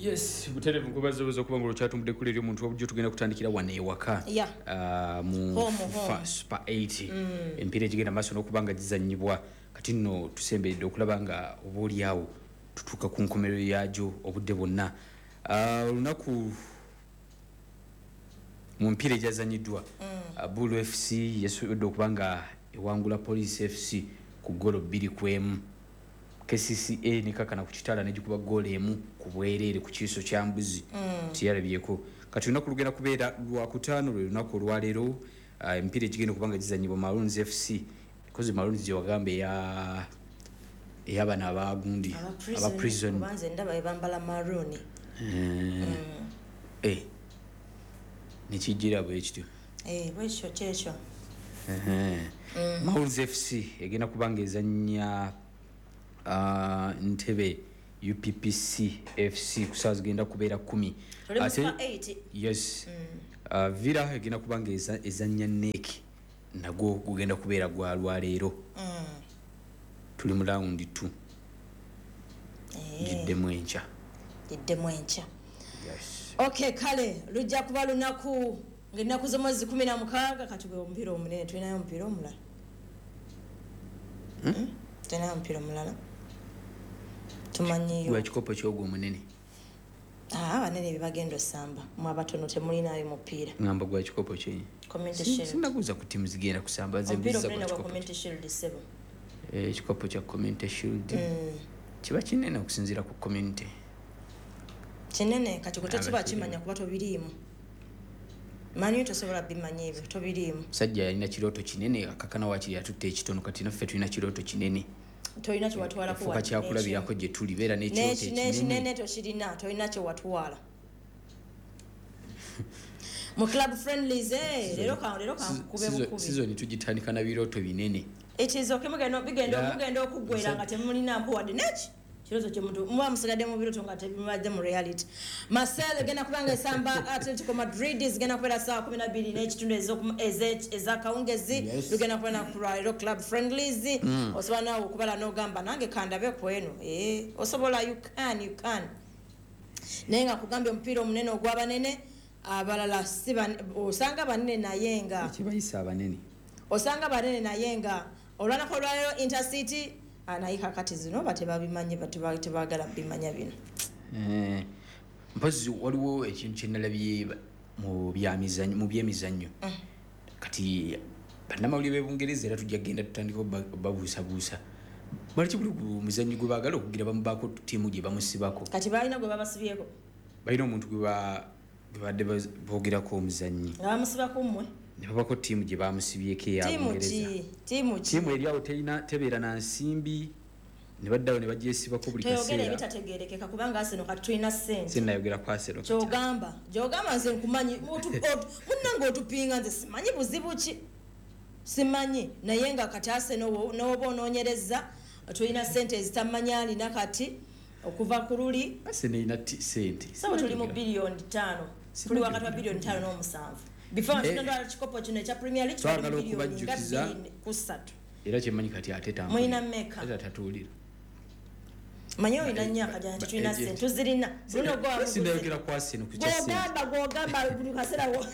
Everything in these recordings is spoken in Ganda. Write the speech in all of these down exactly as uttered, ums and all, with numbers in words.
Yes, butereevu nkubaza okuba nga olwokyatumbudde kuli eri omuntu wabujjo. Tugenda kutandikira wano ewaka Yeah. uh, mu Home, FIFA home. Super eight, emipiira egigenda maaso n'okuba nga gizanyibwa. Kati nno tusemberedde okulaba nga oba oliawo tutuuka ku nkomerero yagyo obudde bwonna. Uh, olunaku mu mpiira egyazanyiddwa, uh, Bul F C yasobodde okuba nga ewangula Police F C ku golo bbiri ku emu. K C C A nekakana ku Kitala negikuba goolo emu ku bwereere ku kiiso kya mbuzi, tiyalabyeko. Kati olunaku lugenda kubeera lwakutaano, lwe lunaku olwaleero, uh, emipiira egigenda okuba nga gizanyibwa, Maroons F C kozi Maroons gyewagamba eya eyabano abagundi aba prison. Kubanze ndaba bebambala maroon. Eh, nekijira bwe kityo. Eh, bwekyo kyekyo. Maroons F C egenda kuba nga ezanya uh, Ntebe U P P C F C ku saawa zigenda kubeera kumi. Tuli mu Ate- Super eight. Yes, uh, Villa egenda kuba nga eza- ezanya N E C, nagwo gugenda kubeera gwa lwaleero. Tuli mu round two, giddemu enkya. Giddemu enkya. Yes. Okay, kale lujja kuba lunaku ngaennaku z'omwezi kumi na mukaaga. Kati gwe omupiira omunene, tulinayo omupiira omulala? Hmm? Tulinayo omupiira omulala tumanyiyo? Gwa kikopo kyogwo omunene. Ah, abanene bebagenda osamba, mwe abatono temulinayo mupiira. Ngamba gwa kikopo kye. Community Shield. Sinaguza ku tiimu zigenda kusamba, nze Omupiira mbuuziza gwa omunene gwa kikopo. Community Shield, sebo. Eh, ekikopo kya Community Shield Mm. kiba kinene okusinziira ku community. Kinene. Kati gwe tokiba Abakirimu. kimanya kuba tobiriimu. Manyi tosobola bimanya ebyo, tobiriimu. Musajja yalina kirooto kinene, akakana wakiri atutte ekitono. Kati naffe tulina kirooto kinene. Tolina kyewatwalako. Fuuka kyakulabirako gye tuli, beera n'ekirooto ekinene. N'ekinene tokirina, tolina kyewatwala mu club friendlies. eh, leero ka- leero kankube bukubi. Sizoni tugitandika na birooto binene. It is okay. Mugenda bigenda Era- mugenda okuggwera nga temulina mpuwadde neki kirooto kyemuntu muba musigadde mu birooto nga tebimubadde mu reality. Marseille egenda kubanga esamba Atletico Madrid, zigenda kubeera saa kumi nabiri n'ekitundu ez'oku- eze- ez'akawungezi. Yes. Lugenda kubeera naku lwaleero club friendlies. Osobola naawe okubala n'ogamba nange kandabe ku eno. Eh, osobola, you can, you can. Naye nga kugambye omupiira omunene ogw'abanene, abalala si bane- osanga banene naye nga Ekibayisa abanene. Osanga banene naye nga olwanako olwaleero Intercity. ah, naye kakati zino ba tebabimanyi, ba teba- tebaagala bimanya bino. Eh, mpozi waliwo ekintu kyenalabye mu byamizannyo- mu byemizannyo. Kati bannamawulire b'ebungereza era tujja kugenda tutandika obba- obabuusabuusa baliki buli ku muzannyi gwe baagala okugira bamubaako ttiimu gye bamusibako. Kati balina gwe babasibyeko? Balina omuntu gwe ba- gwe badde baz- boogerako omuzannyi. Nga bamusibako mmwe? Ne babako ttiimu gye bamusibyeko eya Tiimu Bungereza. ki? Tiimu ki? Ttiimu eri awo terina, tebeera na nsimbi, ne baddawo ne bagyesibako buli Toyogera kaseera. ebitategerekeka kubanga Arsenal kati tulina ssente. Sinayogera ku Arsenal kati. Kyogamba, gyogamba nze nkumanyi. Otu- otu- munnange otupinga, nze simanyi buzibu ki, simanyi. Naye nga kati Arsenal nowoba onoonyereza, tulina ssente ezitamanyi alina kati okuva ku luli. Arsenal erina ti- ssente. Sabo tuli mu biliyoni ttaano, tuli wakati wa biliyoni ttaano n'omusanvu. Before Eh, tunatwala kikopo kino ekya Premier League, twali mu Twagala biliyoni nga okubajjukiza. bbiri ku ssatu. Era kyemmanyi kati ate Mulina mmeka? Ate tatuwulira. Manyi olina nnyo akajana nti tulina Ba- ssente, tuzirina. Bruno gwa Sinayogera ku Arsenal ku kya ssente. Gwogamba, gwogamba buli kaseera wo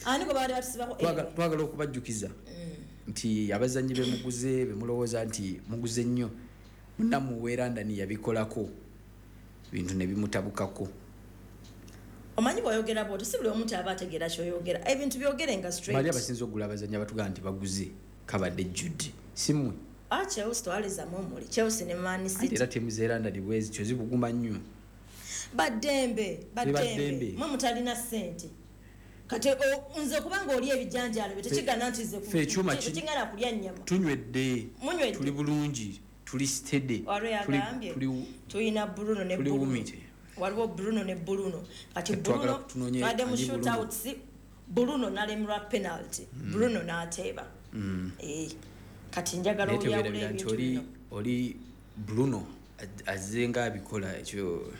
ani gwe babadde batusibako? Twaga- twagala okubajjukiza nti abazannyi bemuguze, bemulowooza nti muguze nnyo, munnamuwe London yabikolako bintu ne bimutabukako. Omanyi bw'oyogera bw'otyo, si buli omu nti aba ategeera kyoyogera. Ebintu byogere nga Bali straight. abasinza okugula abazannyi abatugamba nti baguze kabadde jude, si mmwe. Ah, Chelsea twalizamu omuli Chelsea ne Man Ate City. era ttiimu z'e London bwezityo zibuguma nnyo. Baddembe, baddembe. Baddembe. Mwe mutalina ssente. Kati o- nze kubanga oli ebijanjaalo bye tekigana nti nze ku- Ffe ekyuma ki- tekigana kulya nnyama. Tunywedde. Munywedde. Tuli bulungi, tuli steady. Waliwo Tuli- yagambye tuli- tulina Bruno ne tuli Bruno. wumite. Waliwo Bruno ne Bruno. Kati Twagala Bruno kutunoonye badde mu ani Bruno. shootouts, Bruno nalemerwa penalty, Bruno n'ateeba. Eh, kati njagala Naye oyawula teweerabira nti ebintu oli bino. Oli Bruno az- azze nga abikola ekyo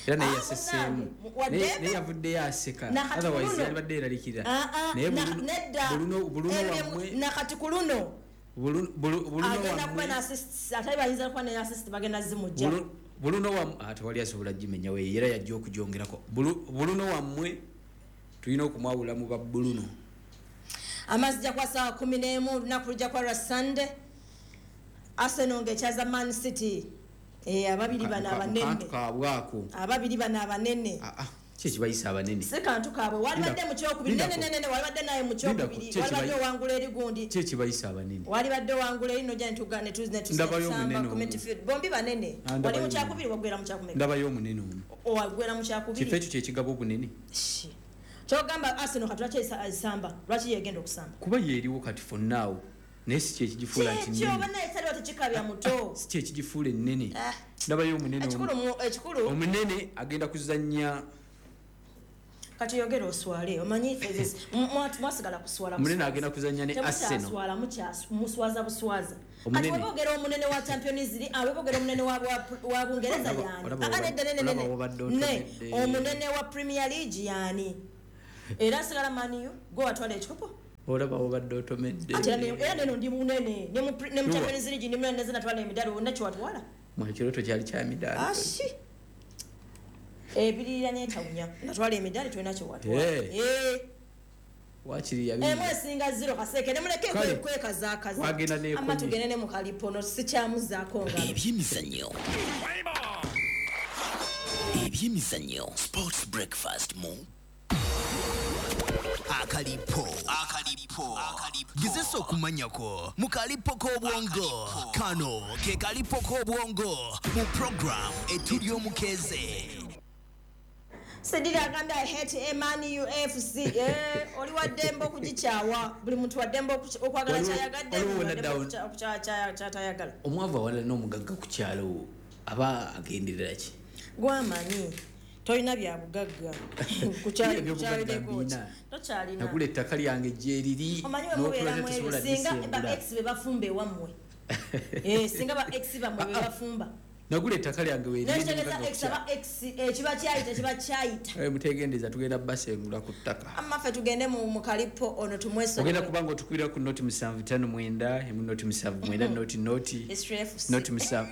era naye Ah, yaseseemu. munnange, waddembe. Naye naye yavuddeyo aseka. Nakati Otherwise Bruno- yalibadde yeraliikirira. Ah, ah, Naye na- Bruno- nedda. Bruno- Bruno Ebyo- wammwe Nakati ku luno Bruno- Bruno- Bruno agenda kuba wammwe n'assist, ate bayinza kuba ne assist bagenda zimujja. Bruno- Buluno wa tewali asobola gimenya we era yajja okugyongerako. Buluno wammwe tulina okumwawula mu ba Buluno. Amazzi kwa saa kumi n'emu olunaku lujja kwa Sunday. Arsenal ng'ekyaza Man City. Eh, ababiri bano abanene. Kantu kaabwako. Ababiri bano abanene. Ah ah, ki ekibayisa abanene? Si kantu kaabwe. Walibadde mu kyokubiri. Nene nene nene walibadde naye mu kyokubiri. Walibadde owangula eri gundi. Ki ekibayisa abanene? Walibadde owangula eri nojja ne ne tuzi ne tusamba community field. Bombi banene. Wali mu kyakubiri wagwera mu kyakumeka. Ndabayo omunene omu. Owagwera mu kyakubiri. Kifo ekyo kye kigaba obunene. Kyogamba Arsenal kati lwaki esamba? Lwaki yegenda okusamba? Kuba yeeriwo kati for now. Naye si kyekigifuula nti nnene. Kyo bana esaliwo tekikabya muto. Si kyekigifuula ennene. Ndabayo omunene omu. Ekikulu omunene agenda kuzannya. Kati yogera oswale omanyi mwasigala kuswala. Omunene agenda kuzannya ne Arsenal. Temukyaswala muswaza buswaza. Kati webogera omunene wa Champions League, webogera omunene wa wa Bungereza yani. Ah nedda nene nene. Ne omunene wa Premier League yani. Era sigala Man U go atwala ekikopo. Olaba obadde otomedde. Ate era neno ndi munene ne mu Champions League ndi munene natwala emidaali wonna kyewatwala. Mwa ekiroto kyali kya midaali. Ashi. Ebirira n'etawunya natwala emidaali tolina kyewatwala. Eh. Wakiri yabi. Emu esinga zero kaseke ne muleke kwekazaakaza. Wagenda ne Ama tugende ne mu kalipono sikyamuzaako ngalo. Ebyemizannyo. Ebyemizannyo. Sports breakfast mu Akalipo. Akalipo. Akalipo. Gezesa okumanyako mu kalipo k'obwongo. Kano ke kalipo k'obwongo mu program etuli omukeze. Sedira agambye I hate Man U F C. Eh, oli wa ddembe okugikyawa. Buli muntu wa ddembe okwagala kyayagadde, kyatayagala. Omwavu awalala n'omugagga ku kyalo aba agenderera ki? Gwamanyi. Tolina bya bugagga. Kukyalideko. Tokyalina. Nagula ettaka lyange gyeriri. Omanyi we mubeera singa ba ex be bafumba ewammwe. Eh, singa ba ex bammwe be bafumba. Nagula ettaka lyange weeriri. N'ekitegeeza ex aba ex ekiba kyayita kiba kyayita. Eh, mutegendeeza tugenda basengula ku ttaka. Amma ffe tugende mu mu kalipo ono tumwesonyiwe. Ogenda kubanga otukubira ku noti musanvu ttaano mwenda, emu noti musanvu mwenda, noti noti. Noti musanvu.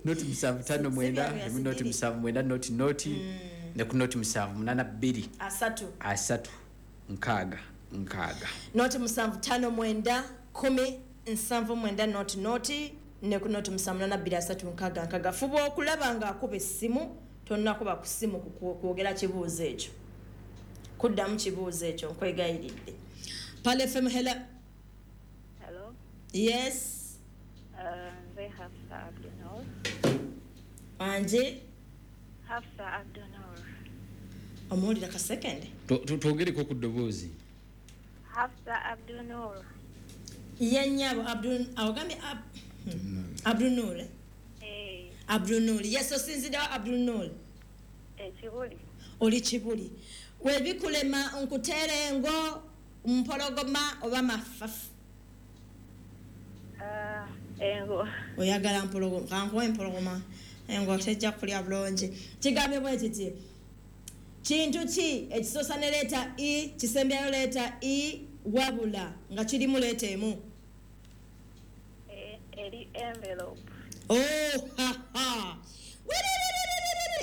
Noti musanvu ttaano mwenda, emu noti musanvu mwenda, noti noti. Ne ku noti musanvu munaana bbiri. Asatu. Asatu. Nkaaga. Nkaaga. Noti musanvu ttaano mwenda, kumi, nsanvu mwenda, noti noti. Ne ku noti musanvu munaana bbiri asatu nkaaga nkaaga. Fuba okulaba ng'akuba essimu, tonnakuba ku ssimu kwogera kibuuzo ekyo. Kuddamu kibuuzo ekyo nkwegayiridde. Pale F M, hello. Hello. Yes. Uh, nze Hafsa Abdunur. Anje? Hafsa Abdunur. Omuwulira ka second. Twogereko ku ddoboozi. Hafsa Abdunur. Ye nnyabo Abdul awagambye Ab Abdunur. Eh. Abdunur. Yes, osinzidde wa Abdunur. Eh, Kibuli. Oli Kibuli. Webikulema nkutere engo mpologoma oba mafafu. Uh, engo. Oyagala mpologoma, kankuwe empologoma. Engo tejja kulya bulungi. Kigambye bwe kiti. Kintu ki ekisoosa ne leeta E, kisembyayo leeta E, wabula nga kirimu leeta emu. Eh, eri envelope. Oh, ha ha.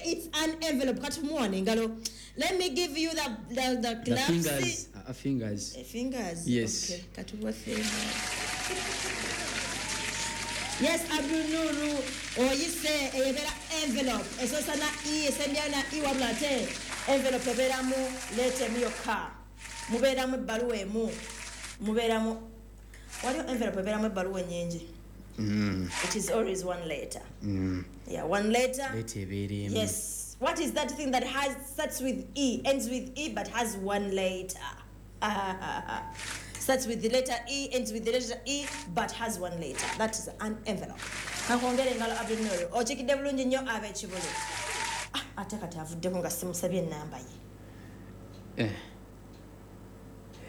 It's an envelope. Kati muwane engalo. Let me give you the the the, the fingers. Uh, fingers. Uh, fingers. Yes. Okay. Katuwa fingers. Yes, Abdul Nuru. Oyise eyebera envelope. Esoosa na E, esembyayo na E wabula ate envelope ebeeramu leeta emu yokka. Mubeeramu ebbaluwa emu. Mubeeramu waliwo envelope ebeeramu ebbaluwa ennyingi. Mm. It is always one letter. Mm. Yeah, one letter. Leeta ebeera emu. Yes. What is that thing that has starts with E, ends with E, but has one letter? Starts with the letter E, ends with the letter E, but has one letter. That is an envelope. Kankongere engalo Abdul Nuru. Okikidde bulungi nnyo ab'Ekibuli. Ah, ate kati avuddeko nga simusabye ennamba ye. Eh.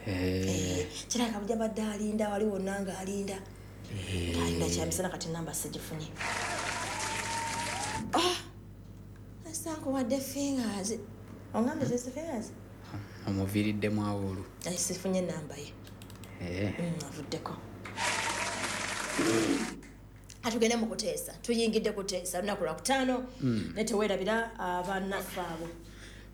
Eh. Kirabika bujja badde alinda wali wonna ng'alinda. Ng'alinda kyamisana kati ennamba sigifunye. Ah! Nsankuwadde fingers. Ongambye zisi fingers? Omuviiriddemu awo olwo. Sifunye ennamba ye. Eh. Mm, avuddeko. Atugende mu kuteesa, tuyingidde kuteesa lunaku lwa kutaano, ne teweerabira abannaffe abo.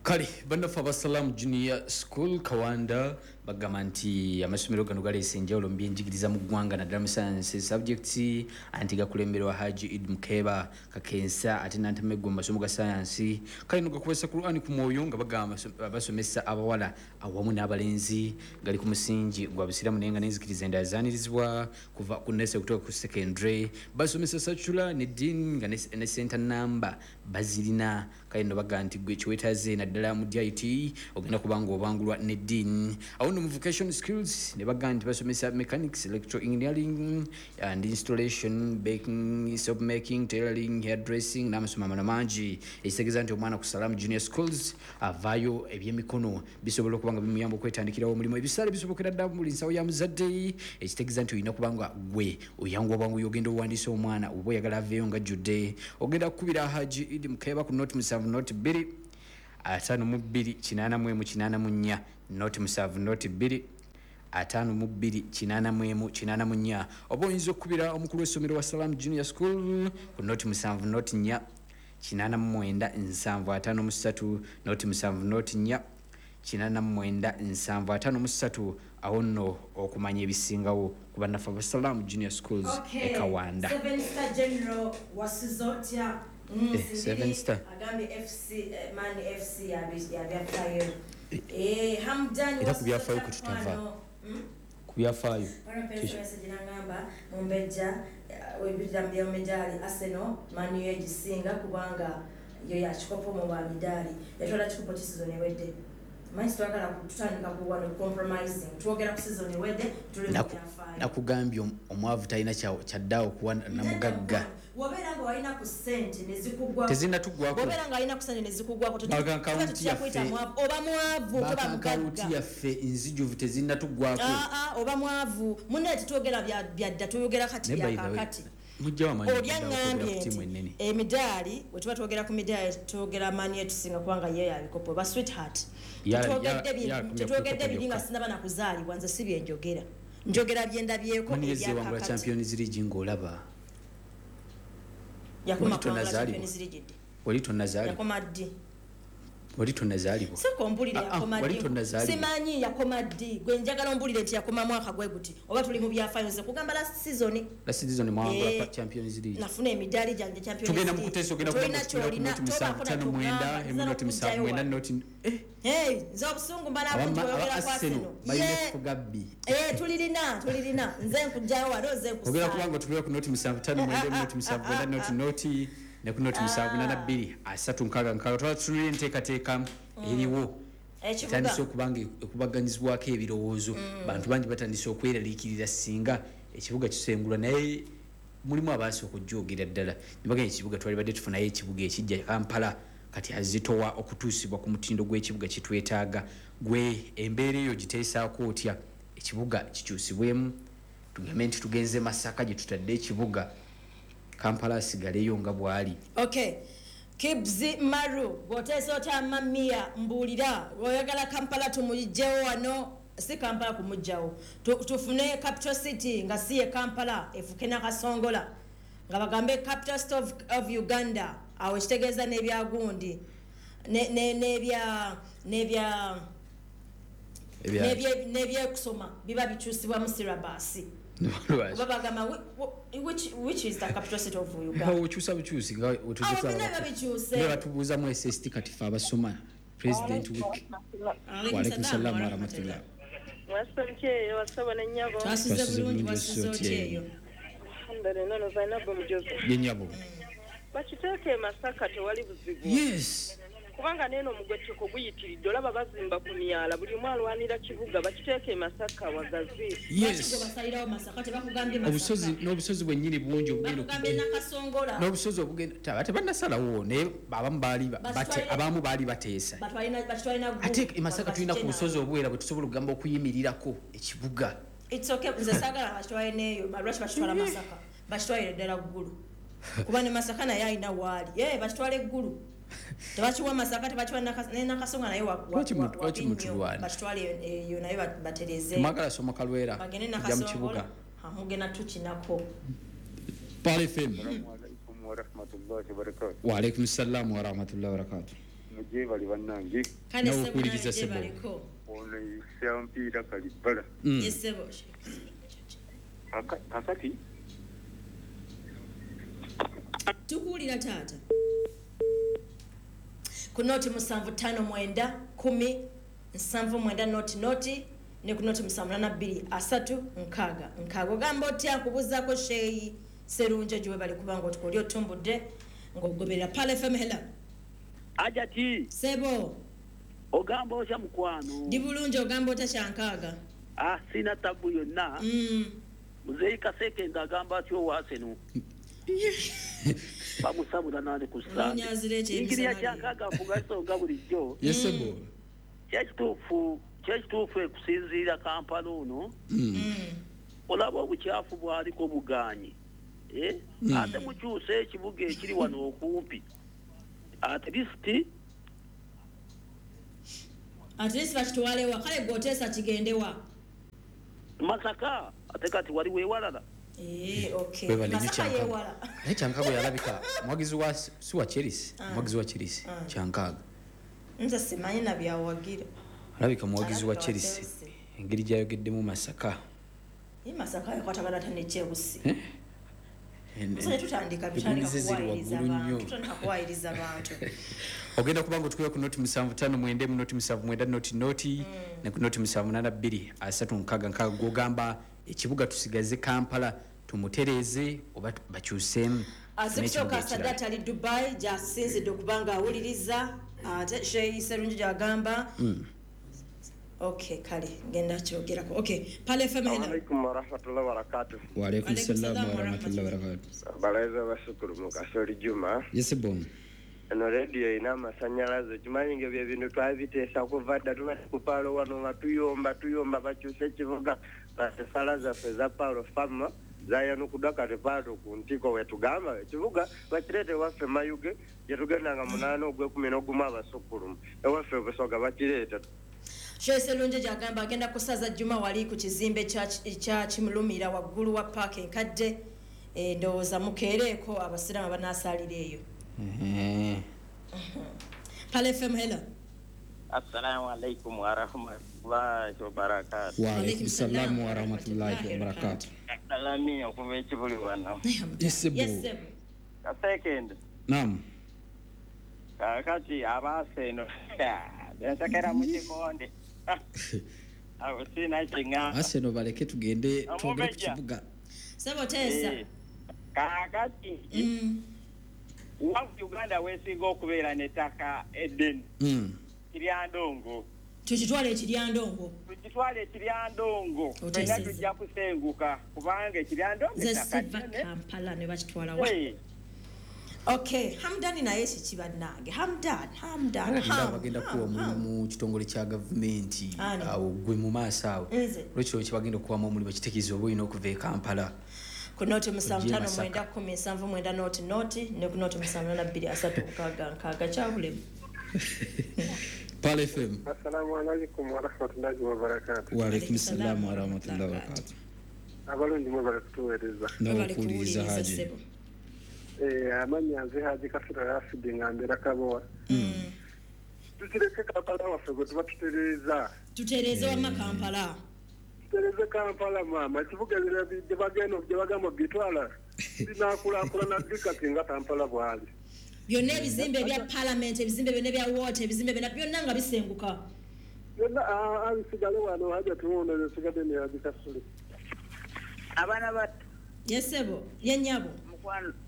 Kale bannaffe abasalamu Junior School Kawanda bagamba nti amasomero gano galeese enjawulo mu byenjigiriza mu ggwanga, naddala mu science subjects, anti gakulemberwa Haji Idi Mukeba Kakensa ate nantameggwa mu masomo ga sayansi. Kale no gakuwesa Qur'ani ku mwoyo nga bagamba basomesa abawala awamu n'abalenzi, gali ku musingi gwa busiramu naye nga n'enzikiriza endala zaanirizibwa kuva ku nursery kutuuka ku secondary. Basomesa secular ne deen nga ne center number bazirina. Kale no bagamba nti gwe kiweetaaze naddala mu D I T ogenda kubanga obangulwa ne deen. Awo no vocation skills ne bagamba nti basomesa mechanics, electrical engineering and installation, baking, soap making, tailoring, hairdressing n'amasomo amalala mangi. Ekitegeeza nti omwana ku Salamu Junior Schools avaayo ebyemikono bisobola okuba nga bimuyamba okwetandikirawo omulimu. Ebisaale bisobokera ddala mu buli nsawo ya muzadde. Ekitegeeza nti olina kuba nga gwe oyanguwa bwangu ogenda owandiisa omwana oba oyagala aveeyo nga ajjudde. Ogenda kukubira Haji Idi Mukeba ku noti musanvu noti bbiri ataano mu bbiri kinaana mu emu kinaana mu nnya, noti musanvu noti bbiri ataano mu bbiri kinaana mu emu kinaana mu nnya, oba oyinza okukubira omukulu w'essomero wa Salamu Junior School ku noti musanvu noti nnya kinaana mu mwenda nsanvu ataano mu ssatu, noti musanvu noti nnya kinaana mu mwenda nsanvu ataano mu ssatu. Awo nno okumanya ebisingawo ku bannaffe aba Salamu Junior Schools e Kawanda. Seven Star General Wasizotya Mm, Seven Star agambye F C Man F C yabyafaayo. Eh, Hamdan era ku byafaayo kututava ku byafaayo nangamba mumbejja webidda midaali Arsenal Man U egisinga kubanga yo yakikopo mu ba midaali yatwala kikopo ki season ewedde. Manyi twagala kutandika ku wano compromising, twogera ku season ewedde tuli mu byafaayo. Nakugambye omwavu talina kyaddaawo kuwa namugagga. Wobeera nga walina ku ssente ne zikugwako, tezinnatuggwako. Wobeera nga alina ku ssente ne zikugwako, tetuyita mwavu oba mwavu toba mugagga. Yaffe enzijuvu tezinnatuggwako. Oba mwavu munne tetwogera byadda, tuyogera kati byakakati. Oli aŋŋambye nti emidaali bwe tuba twogera ku midaali twogera maani etusinga kubanga ye yabikopo ba sweetheart. Tetwogedde biri nga sinnaba na kuzaalibwa, nze si bye njogera, njogera bye ndabyeko ebyakakati. Champions League ng'olaba yakoma Champions League ddi? Wali tonnazaalibwa. Yakoma ddi? Wali tonnazaalibwa. Sooka ombulire yakoma ddi. Simanyi yakoma ddi. Gwe njagala ombulire nti yakoma mwaka gwe guti oba tuli mu byafaayo. Nze kugamba last season. Last season mwawangula Champions League. Nafuna emidaali gyange Champions League. Tugenda mu kuteesa ogenda ku noti musanvu ttaano mwenda emu noti musanvu mwenda noti eh Hey, nze obusungu mbala kunti oyogera kwa Arsenal. Balina kufuga bbi. Eh, tulirina, tulirina. Nze nkujjayo wano nze nkusaba. Ogenda kubanga otubira ku noti musanvu ttaano mwenda emu noti musanvu mwenda noti noti ne ku noti musanvu nana bbiri asatu nkaaga nkaaga. Twala tutunulire enteekateeka eriwo. Etandise okuba nga ekubaganyizibwako ebirowoozo. Bantu bangi batandise okweraliikirira singa ekibuga kisengulwa, naye mulimu abaasooka okujoogerera ddala. Ne bagamba ekibuga twalibadde tufunayo ekibuga ekijja Kampala kati azitowa okutuusibwa ku mutindo gw'ekibuga kitwetaaga. Gwe embeera eyo giteesaako otya? Ekibuga kikyusibwemu, tugambe nti tugenze Masaka gye tutadde ekibuga, Kampala asigaleyo nga bw'ali. Okay. Kibzi Maru, bw'oteesa otya Mamia mbuulira, oyagala Kampala tumugyewo wano, si Kampala kumuggyawo. Tufune capital city nga si ye Kampala, efuke Nakasongola. Nga bagambe capital city of, of Uganda. Awo kitegeeza n'ebyagundi n'ebya n'ebya n'ebyekusoma biba bikyusibwa mu syllabus. Oba bagamba which which is the capital city of Uganda. Okyusa bukyusi nga otuzusa. Ne batubuuza mu S S T kati fe abasoma President Week. Wa alaikum salaam wa rahmatullah. Wasante wasaba nnyabo. Twasuze bulungi wasuze otya eyo. Alhamdulillah no Zainabu Mujozi. Ye nnyabo. Bakiteeke e Masaka tewali buzibu. Yes. Kubanga neno omugwettuko guyitiridde, olaba bazimba ku myala, buli omu alwanira kibuga, bakiteeke e Masaka wagazi. Yes. Basalirawo Masaka, tebakugambye Masaka. Obusozi n'obusozi bwennyini bungi obugenda bakugambye Nakasongola. N'obusozi obugenda tebannasalawo, naye abamu baali abamu baali bateesa. Ate e Masaka tulina ku busozi obuwera bwe tusobola okugamba okuyimirirako ekibuga. It's okay, nze saagala bakitwale n'eyo, lwaki bakitwala Masaka? Bakitwalire ddala Ggulu. Kuba ne Masaka naye alina waali. Ye bakitwala eggulu. Tebakiwa Masaka, tebakiwa ne Nakasonga naye lwaki mutulwana? Bakitwale eyo naye batereze. Mwagala soma Kalwera bagende kujja mu kibuga. Mugenda tukinako. Pal F M. Assalamu alaikum wa rahmatullahi wa barakatuh. Wa alaikum salam wa rahmatullahi wa barakatuh. Muje bali bannange. Kale sebo baliko. Ono yampiira kalibala. Yes sebo. Kakati tukuwulira taata. Ku noti musanvu ttaano mwenda kumi nsanvu mwenda noti noti ne ku noti musanvu nana bbiri asatu nkaaga nkaaga. Ogamba otya nkubuuzaako Sheikh Serunjogi we bali kubanga otukoli otumbudde ng'ogoberera Pal F M. Hello. Ajati. Sebo. Ogamba otya mukwano? Ndi bulungi. Ogamba otya kyankaaga? Ah, sina tabu yonna. Mm. Muzeeyi Kaseke ng'agamba atyo owaaseno. Bamusabula nani ku ssande. Engeri ya kyankaaga afuga ensonga bulijjo. Yes sebo. Kyekituufu kyekituufu ekusinziira Kampala ono. Olaba obukyafu bwaliko bugaanyi. Eh? Ate mukyuse ekibuga ekiri wano okumpi. At least At least bakitwale wa kale gwoteesa kigende wa Masaka ate kati wali weewalala. Eh, okay. Masaka yeewala. Naye Kyankaaga yalabika mwagizi wa si wa Chelsea, mwagizi wa Chelsea Kyankaaga. Nze simanyi na byawagira. Alabika mwagizi wa Chelsea. Engeri gy'ayogeddemu Masaka. Ye Masaka yakwatagana ate ne Chelsea. Nze tutandika bitandika kuwayiriza abantu. Tutandika kuwayiriza abantu. Ogenda kubanga otukuya ku noti musanvu ttaano mwenda mu noti musanvu mwenda noti noti ne ku noti musanvu nana bbiri asatu nkaaga nkaaga gw'ogamba ekibuga tusigaze Kampala tumutereeze oba bakyuseemu. Azikusoka Sadat ali Dubai gy'asinzidde okubanga awuliriza ate Sheikh Serunjogi gy'agamba. Okay, kale ngenda kyogerako. Okay, Pal F M. Hello. Alaikum wa rahmatullahi wa barakatuh. Wa alaikum salam wa rahmatullahi wa barakatuh. Balaiza bashukuru mukasoli Juma. Yes bon. Eno radio ina amasanyalaze kimanyi nga bye bintu twabiteesa kuva dda tuba ku Palo wano nga tuyomba tuyomba bakyuse ekibuga basala zaffe za Palo Fama zayanukuddwa kati Palo ku ntiko wetugamba ekibuga bakireete ewaffe Mayuge gye tugenda nga munaana ogw'ekumi n'ogumu abasukkulumu ewaffe Busoga bakireeta. Sheikh Serunjogi gy'agamba agenda kusaza Juma wali ku kizimbe kya Kimulumira waggulu wa paaka enkadde. Ndowooza mukeereeko abasiraamu abanaasalira eyo. Pal F M. Hello. Assalamu alaikum wa rahmatullahi wa barakatuh. Wa alaikum salam wa rahmatullahi wa barakatuh. Salami okuva ekibuli wano. Yes sebo. Kasekende. Naam. Kakati abaaseno bensekera mu kikonde. Awo sina kinga. Aseno baleke tugende twogere ku kibuga. Sebo teesa. Kakati. Mm. Wa Uganda wesinga okubeera n'ettaka eddene. Mm. Kiryandongo. Tukitwale ekiryandongo. Tukitwale ekiryandongo. Ffenna tujja kusenguka kubanga ekiryandongo ettaka ddene. Kampala ne bakitwala wa. Okay, Hamdani naye kiki bannange? Hamdan, Hamdan, Hamdan. Bagenda kuwa omulimu mu kitongole kya gavumenti awo gwe mu maaso awo. Lwekiro kibagenda okuwamu omulimu kitegeeza oba olina okuva e Kampala. Ku noti musanvu ttaano mwenda kkumi nsanvu mwenda noti noti ne ku noti musanvu nana bbiri asatu nkaaga nkaaga kyabulemu. Pal F M. Assalamu alaikum wa rahmatullahi wa barakatuh. Wa alaikum salam wa rahmatullahi wa barakatuh. Abalungi mwebale kutuweereza. N'okuwuliriza Haji. Eh, amannya nze Haji Kasura Rafidi nga mbeera Kabowa. Tukireke Kampala waffe gwe tuba tutereeza. Tutereeze wamma Kampala. Tutereeze Kampala maama, ekibuga gye bagenda gye bagamba bitwala binaakulaakulana ddi kati nga Kampala bw'ali. Byonna ebizimbe ebya parliament, ebizimbe byonna ebya water, ebizimbe byonna byonna nga bisenguka. Byonna abisigale wano Haji tuwuno bisigadde ne Haji Kasule. Abaana bato. Yes sebo, ye nnyabo.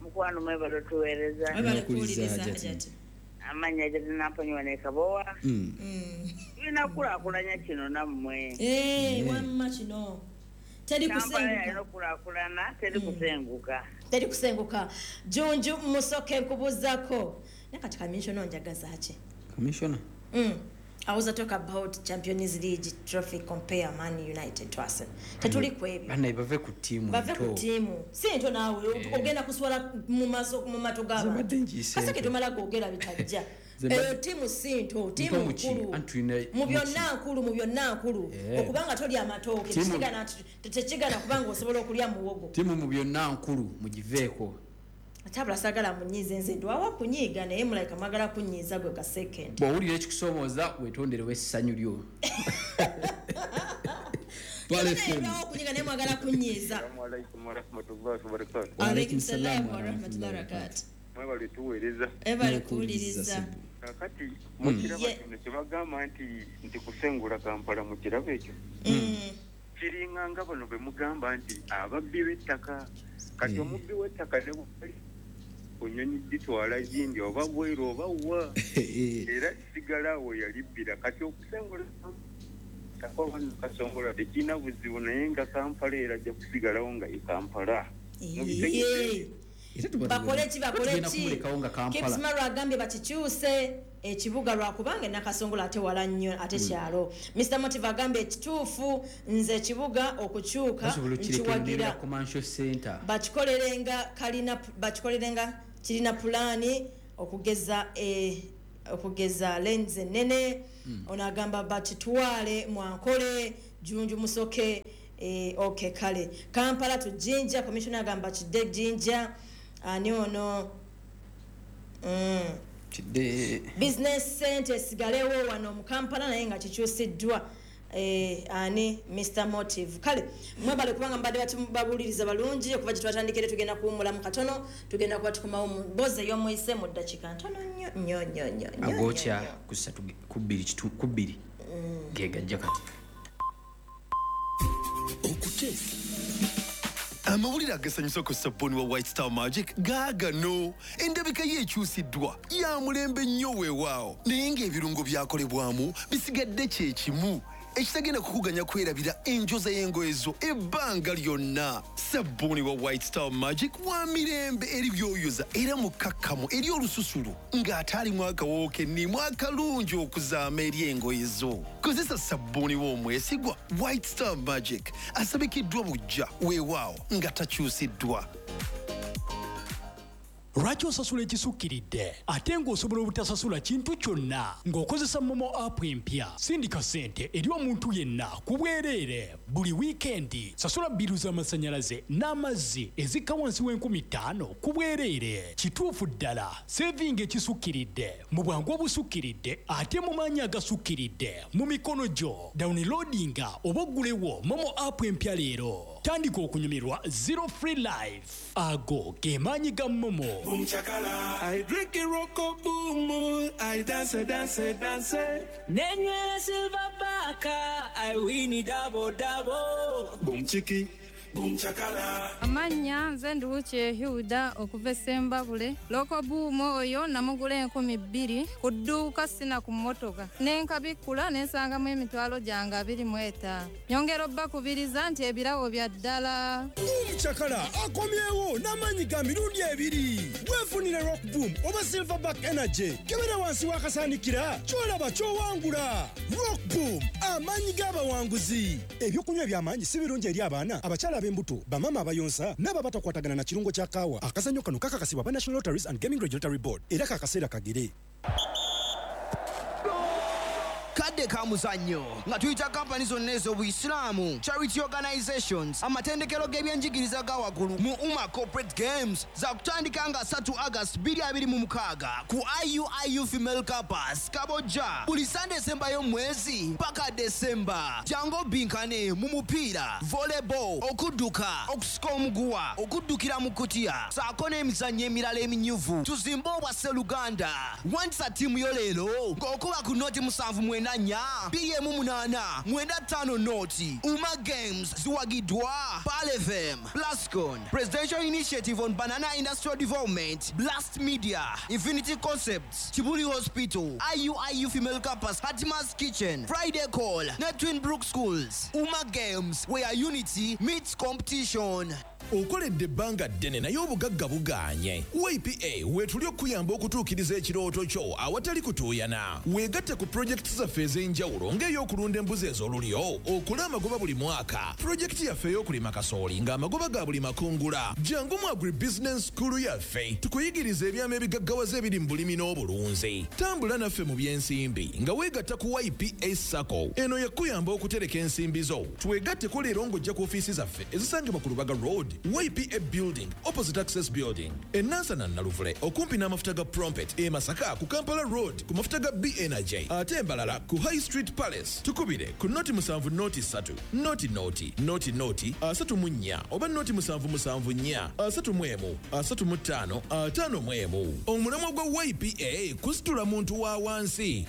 Mukwano mwebale tuweereza. Mwebale kuwuliriza Hajati. Amannya gye tunamponyiwa ne Kabowa. Tulina kukulaakulanya kino nammwe. Eh, wamma kino. Teri kusenguka. Yalina okukulaakulana, teri kusenguka. Teri kusenguka. Junju Musoke nkubuuzaako. Naye kati commissioner onjagaza ki? Commissioner? Mm. I was talk about Champions League trophy compare Man United to Arsenal. Tetuli ku ebyo. Bana bave ku tiimu. Bave ku tiimu. Si nto naawe ogenda kuswala mu maso mu mato gaba. Kaseke tumala gogera bitajja. Eyo ttiimu si nto, ttiimu nkulu mu byonna, nkulu mu byonna, nkulu okubanga tolya amatooke tekigana kubanga osobola okulya muwogo. Ttiimu mu byonna nkulu, mugiveeko. Atabula sagala munyiize, nze ndwawa kunyiiga, naye mulayika mwagala kunyiiza gwe ka second. Bw'owulira ekikusoomooza weetonderewo essanyu lyo. Kunyiiga naye mwagala kunyiiza. Assalamu alaikum warahmatullahi wabarakatuh. Wa alaikum salaam warahmatullahi wabarakatuh. Mwebale tuweereza. Ebale kuwuliriza. Kakati mukiraba kino kyebagamba nti nti kusengula Kampala, mukiraba ekyo kiringa nga bano be mugamba nti ababbi b'ettaka. Kati omubbi w'ettaka ne bwali onyonyi gitwala gindi oba bweru oba wa, era kisigala awo yalibbira. Kati okusengula Kasongola tekirina buzibu, naye nga Kampala era ajja kusigalawo nga ye Kampala. Bakole ki, bakole ki? Kipsmaru agambye bakikyuse ekibuga lwakubanga Nakasongola ate wala nnyo ate kyalo. Mister Motive agambye ekituufu, nze ekibuga okukyuka nkiwagira, bakikolerenga kalina, bakikolerenga kirina pulaani okugeza okugeza lenze ennene. Ono agamba bakitwale mwankole Junju Musoke. Okay, kale Kampala to Jinja, commissioner agamba kidde Jinja. Ani ono business center esigalewo wano mu Kampala naye nga kikyusiddwa. Ani Mister Motive. Kale mwebale kubanga mbadde babuuliriza balungi okuva gye twatandikire. Tugenda kuwummulamu katono, tugenda kuba tukomawo mu mboozi ey'omuyise mu ddakiika ntono nnyo nnyo nnyo nnyo. Agookya ku ssatu ku bbiri ku bbiri ge gajja kati. Okuteesa amawulire agasanyusa ku sabbuuni wa White Star Magic gaagano. Endabika ye ekyusiddwa, ya mulembe nnyo weewaawo, naye ng'ebirungo byakolebwamu bisigadde kye kimu ekitagenda kukuganya kwerabira enjoza y'engoye zo ebbanga lyonna. Sabbuuni wa White Star Magic wa mirembe eri byoyoza era mukkakkamu eri olususu ng'ate alimu akawoowo kennimu akalungi okuzaama eri engoye zo. Kozesa sabbuuni w'omwesigwa White Star Magic asabikiddwa buggya weewaawo nga takyusiddwa. Lwaki osasula ekisukkiridde ate ng'osobola obutasasula kintu kyonna ng'okozesa MoMo app empya? Sindika ssente eri omuntu yenna ku bwereere buli wiikendi. Sasula bbiru z'amasannyalaze n'amazzi ezikka wansi w'enkumi ttaano ku bwereere. Kituufu ddala, sevinga ekisukkiridde mu bwangu obusukkiridde ate mu maanyi agasukkiridde mu mikono gyo. Downloadinga oba oggulewo MoMo app empya leero. Tandika okunyumirwa Zero Free Life. Ago ge maanyi ga MoMo. Boom chakala, I drink it rocko boom, I dance, dance, dance. Nenywera silver baka, I win it double double. Boom chiki, boom chakala. Amanya nze Nduwuche Hilda okuva e Sembabule. Loko boom oyo namugula enkumi bbiri ku dduuka sina ku mmotoka. Ne nkabikkula ne nsangamu emitwalo gyange abiri mu etaano. Nyongera obbakubiriza nti ebirabo bya ddala. Chakala akomyewo n'amaanyi ga mirundi ebiri. Weefunire Rock Boom oba Silverback Energy. Kebera wansi w'akasaanikira ky'olaba ky'owangula. Rock Boom, amaanyi g'abawanguzi. Ebyokunywa eby'amaanyi si birungi eri abaana, abakyala ab'embuto, bamaama abayonsa n'abo abatakwatagana na kirungo kya kaawa. Akazannyo kano kakakasibwa aba National Lotteries and Gaming Regulatory Board era kakaseera kagere. Kadde ka muzannyo nga tuyita kampani zonna ez'obuyisiraamu, charity organizations, amatendekero g'ebyenjigiriza ga waggulu mu UMA Corporate Games za kutandika nga asatu August bbiri abiri mu mukaaga ku I U I U Female Campus Kabojja buli Sunday esembayo mwezi paka December. Jangu obinkane mu mupiira, volleyball, okudduka, okusika omuguwa, okuddukira mu kutiya ssaako n'emizannyo emirala eminyuvu. Tuzimbe obwa Sseruganda. Wandisa ttiimu yo leero ng'okuba ku noti musanvu mwenda nnya bbiri emu munaana mwenda ttaano noti. UMA Games ziwagiddwa Pearl F M, Plascon, Presidential Initiative on Banana Industrial Development, Blast Media, Infinity Concepts, Kibuli Hospital, I U I U Female Campus, Hatima's Kitchen, Friday Call, ne Twin Brook Schools. UMA Games, where unity meets competition. Okoledde ebbanga ddene naye obugagga bugaanye. Y P A weetuli okuyamba okutuukiriza ekirooto kyo awatali kutuuyana. Weegatte ku pulojekiti zaffe ez'enjawulo ng'ey'okulunda embuzi ez'olulyo, okola amagoba buli mwaka. Pulojekiti yaffe ey'okulima kasooli ng'amagoba ga buli makungula. Jangu mu Agribusiness School yaffe tukuyigiriza ebyama ebigaggawaza ebiri mu bulimi n'obulunzi. Tambula naffe mu by'ensimbi nga weegatta ku Y P A SACCO. Eno yakuyamba okutereka ensimbi zo. Twegatteko leero ng'ojja ku ofiisi zaffe ezisangibwa ku Lubaga Road, Y P A Building, opposite Access Building, e Nansana Naluvule, okumpi n'amafuta ga Prompet, e Masaka ku Kampala Road ku mafuta ga B Energy, ate Mbalala ku High Street Palace. Tukubire ku noti musanvu noti ssatu, noti noti, noti noti, asatu mu nnya, oba noti musanvu musanvu nnya, asatu mu emu, asatu mu ttaano, ataano mu emu. Omulamwa gwa Y P A kusitula muntu wa wansi.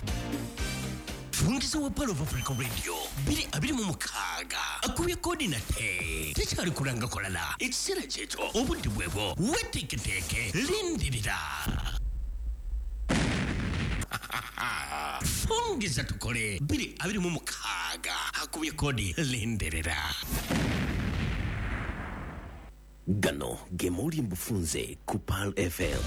Fungiza wa Pearl of Africa Radio bbiri abiri mu mukaaga akubye kodi nate tekyali kulanga kolala ekiseera kyekyo obudde bwebwo weteeketeeke lindirira. Fungiza tukole bbiri abiri mu mukaaga akubye kodi lindirira. Gano ge mawulire mbufunze ku Pearl F M.